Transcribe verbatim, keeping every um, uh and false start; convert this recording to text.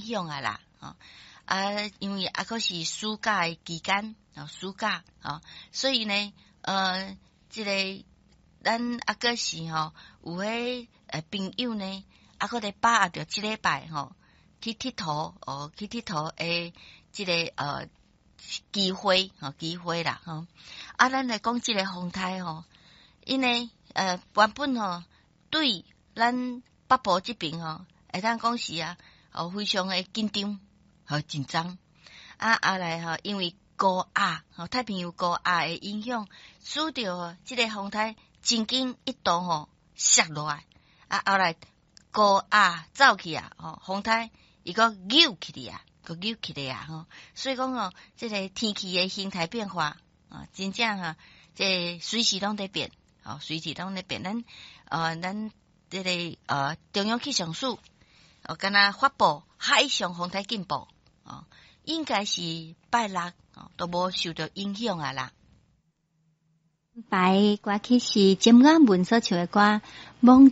響啊啦，吼啊，因為猶閣是暑假的期間，哦，暑假，吼，所以呢，呃，這個咱猶閣是吼有彼呃朋友呢，猶閣咧把握著這禮拜吼去𨑨迌哦，去𨑨迌的這個呃機會，吼機會啦，吼啊，咱來講這個風颱吼，𪜶呢呃原本吼對咱北部這爿吼，會當講是啊，哦非常的緊張，和緊張啊，後來吼因為高壓吼太平洋高壓的影響，使著這個風颱曾經一度吼瀉落來，啊後來高壓走去啊，吼風颱伊閣扭起來啊，閣扭起來啊，吼，所以講吼，這個天氣的形態變化啊，真正哈，這隨時攏佇變，吼隨時攏佇變。咱呃，咱這個呃中央氣象署哦，敢若發布海上風颱警報哦，應該是拜六哦都無受著影響啊啦。排歌曲是詹雅雯所唱的歌《罔市》。